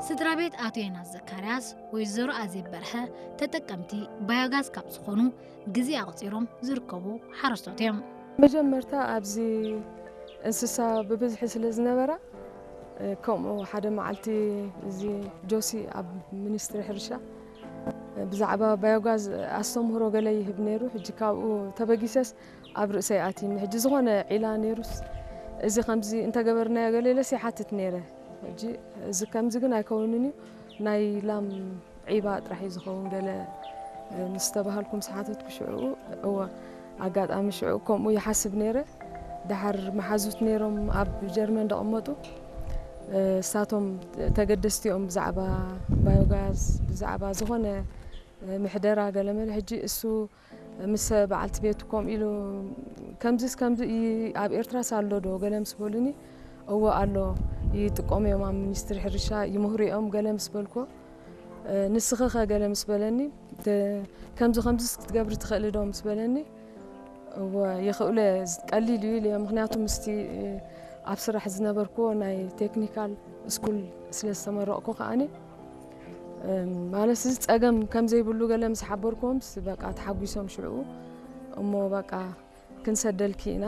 ስድራ ቤት ኣቶ ዮናስ ዘካርያስ፣ ወይዘሮ ኣዜብ በርሀ ተጠቀምቲ ባዮጋዝ ካብ ዝኾኑ ግዜ ኣቑጺሮም ዝርከቡ ሓረስቶት እዮም። መጀመርታ ኣብዚ እንስሳ ብብዝሒ ስለ ዝነበራ፣ ከምኡ ሓደ መዓልቲ እዚ ጆሲ ኣብ ሚኒስትሪ ሕርሻ ብዛዕባ ባዮጋዝ ኣስተምህሮ ገለ ይህብ ነይሩ። ሕጂ ካብኡ ተበጊሰስ ኣብ ርእሰይ ኣትይኒ። ሕጂ ዝኾነ ዒላ ነይሩስ፣ እዚ ከምዚ እንተገበርናዮ ገለ ኢለስ ይሓትት ነይረ። ሕጂ እዚ ከምዚ ግን ኣይከውንን እዩ፣ ናይ ላም ዒባ ጥራሕ እዩ ዝኸውን ገለ ምስ ተባሃልኩ ምስ ሓተትኩ ሽዕኡ፣ እወ ኣጋጣሚ ሽዑ ከምኡ ይሓስብ ነይረ። ደሓር መሓዙት ነይሮም ኣብ ጀርመን ደቐመጡ፣ እሳቶም ተገደስቲ እዮም ብዛዕባ ባዮጋዝ፣ ብዛዕባ ዝኾነ ምሕደራ ገለመለ። ሕጂ እሱ ምስ በዓልቲ ቤቱ ከምኡ ኢሉ፣ ከምዚስ ከምዚ እዩ ኣብ ኤርትራስ ኣሎ ዶ ገለ ምስ በሉኒ፣ እወ ኣሎ፣ ይጥቀሙ እዮም ኣብ ሚኒስትሪ ሕርሻ ይምህሩ እዮም ገለ ምስ በልኩዎ፣ ንስኺ ኸ ገለ ምስ በለኒ፣ ከምዚ ከምዚስ ክትገብሪ ትኽእሊ ዶ ምስ በለኒ፣ እወ ይኽእሎ እየ፣ ቀሊል እዩ ኢለ። ምኽንያቱ ምስቲ ኣብ ስራሕ ዝነበርኩዎ ናይ ቴክኒካል ስኩል ስለ ዝተመረቕኩ ከኣኒ፣ ማለት እዚ ጸገም ከም ዘይብሉ ገለ ምስ ሓበርኩዎምስ በቃ ተሓጒሶም ሽዕኡ። እሞ በቃ ክንሰደልኪ ኢና፣